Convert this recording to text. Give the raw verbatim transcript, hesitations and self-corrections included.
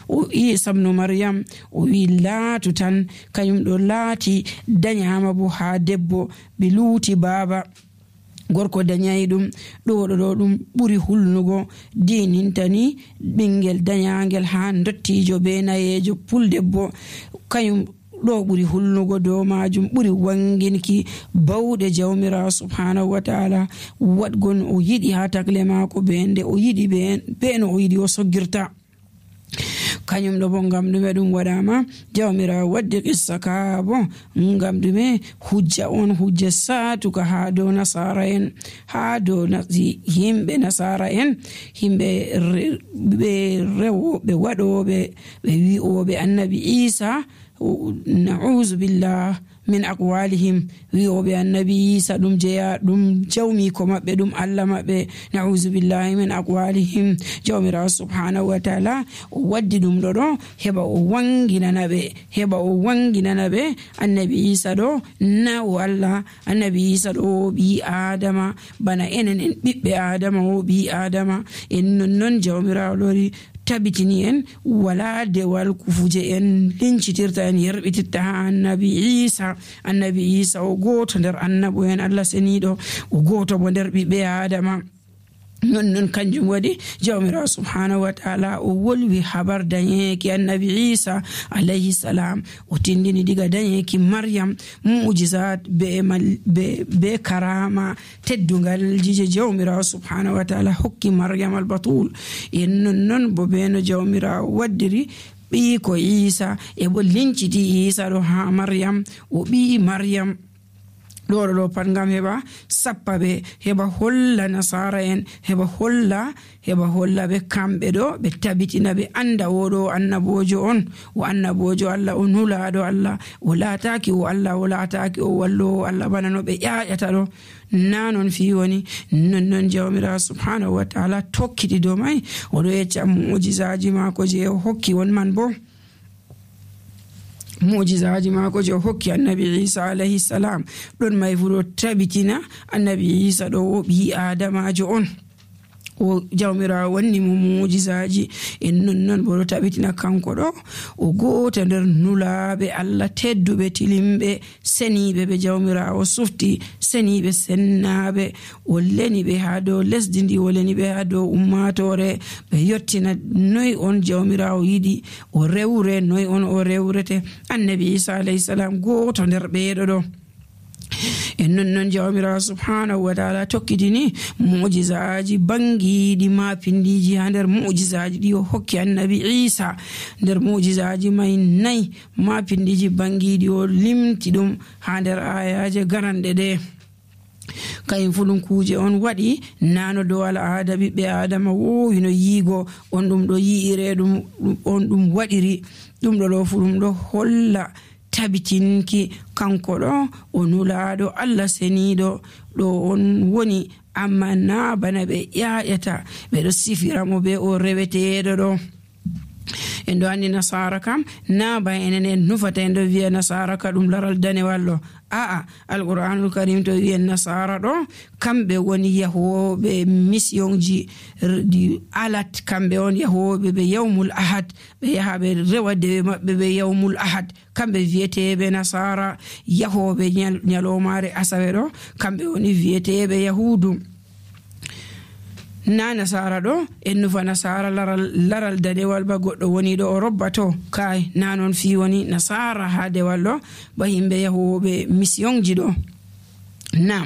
o Isa ibn Maryam o wi laatu tan kanyum ɗo laati danyama bo ha debbo ɓe luuti baaba gorko danyai ɗum ɗo ɗo ɗum ɓuri hulnugo dinintani ɓingel danyangel ha dottijo be nayejo puldebbo kanyum ɗo ɓuri hulnugo dow majum ɓuri wanginki bawɗe jawmirawo subhanahu wa ta'ala waɗgon o yiɗi ha tagle mako be nde o yiɗi be no o yiɗi o soggirta kanyum ɗo bo ngam ɗume ɗum waɗama jawmirawo waddi qissa ka bo ngam ɗume hujja on hujja satuka ha dow nasara en ha dow yimɓe nasara en yimɓe ɓe rewoɓe waɗoɓe ɓe wi'oɓe annabi Isa na'uzu billah min aqwalihim wi'oɓe annabi Isa ɗum jeya ɗum jawmi ko maɓɓe ɗum Allah maɓɓe na'uzu billahi min aqwalihim jawmirawo subhanahu wa ta'ala o waddi ɗum ɗo ɗo heɓa o wanginana ɓe heɓa o wanginana ɓe annabi Isa ɗo na o Allah annabi Isa ɗo o ɓi adama bana enen en ɓiɓɓe adama o ɓi adama en nonnon jawmirawo lori tabitini en wala dewal kufuje en lincitirta en yerɓititta ha annabi Isa annabi Isa o goto nder annabo en Allah seniɗo o goto bo nder ɓiɓɓe adama non non kanjum waɗi jawmirawo subhanahu wa ta'ala o wolwi habar dañeki annabi Isa alayhi salam o tindini diga dañeki Maryam mu'jizat be, be, be karama teddungal jije jawmirawo subhanahu wa ta'ala hokki Maryam al-batul en non non bo beno jawmirawo waddiri ɓi ko Isa e bo linciti Isa ɗo ha Maryam o ɓi Maryam ɗo ɗo pat ngam heɓa sappa ɓe heɓa holla nasara en heɓa holla heɓa holla ɓe kamɓe ɗo ɓe tabitina ɓe anda oɗo annabojo on o annabojo Allah o nulaɗo Allah o laataki o Allah o laataki o wallowo Allah bana no ɓe ƴaƴata ɗo na non fi woni nonnon jawmirawo subhanahu wa ta'ala tokkiti dow mai oɗo yecca mu'jizaji mako je o hokki won man bo mu'jizaji mako je hokki annabi Isa alayhi salam ɗon may fuɗo tabitina annabi Isa ɗo o ɓi adamajo on o jawmirawo wanni mo mu'jizaji en nonnon bo ɗo tabitina kanko ɗo o goto nder nulaɓe Allah tedduɓe tilimɓe seniɓe ɓe jawmirawo sufti seniɓe sennaɓe o leni ɓe ha dow lesdi ndi o leni ɓe ha dow ummatore ɓe yettina noy on jawmirawo yiɗi o rewre noy on o rewrete annabi Isa alayhi salam goto nder ɓeɗo ɗo en nonnon jawmirawo subhanahu wa ta'ala tokkitini mu'jizaji bangiɗi ma pindiji ha nder mu'jizaji ɗi o hokki annabi Isa nder mu'jizaji mai nayi ma pindiji bangiɗi o limti ɗum ha nder ayaje garanɗe ɗe kayum fu ɗum kuje on waɗi nano dow al'ada ɓiɓɓe adama wowino yiigo on ɗum ɗo yi'ire ɗum on ɗum waɗiri ɗum ɗo ɗo fu ɗum ɗo holla tabitinki kanko ɗo o nulaɗo Allah seniɗo ɗo on woni amma na bana ɓe ƴaƴata ɓeɗo sifiramo be o reweteɗo ɗo en ɗo andi nasara kam na ba enen en nufata en ɗo wiya nasara ka ɗum laral danewal ɗo a'a alqur'anul karim to wiya nasara ɗo kamɓe woni yahoɓe missionji di alat kamɓe on yahoɓe ɓe yawmul ahad ɓe yaha ɓe rewa dewe maɓɓe ɓe yawmul ahad kamɓe wiyeteɓe nasara yahoɓe nyalomare asawe ɗo kamɓe woni wiyeteɓe yahudu na nasara ɗo en nufa nasara laral, laral danewal ba goɗɗo woni ɗo o robbato kai na non fi woni nasara ha dewal ɗo ba yimɓe yahoɓe missionji ɗo na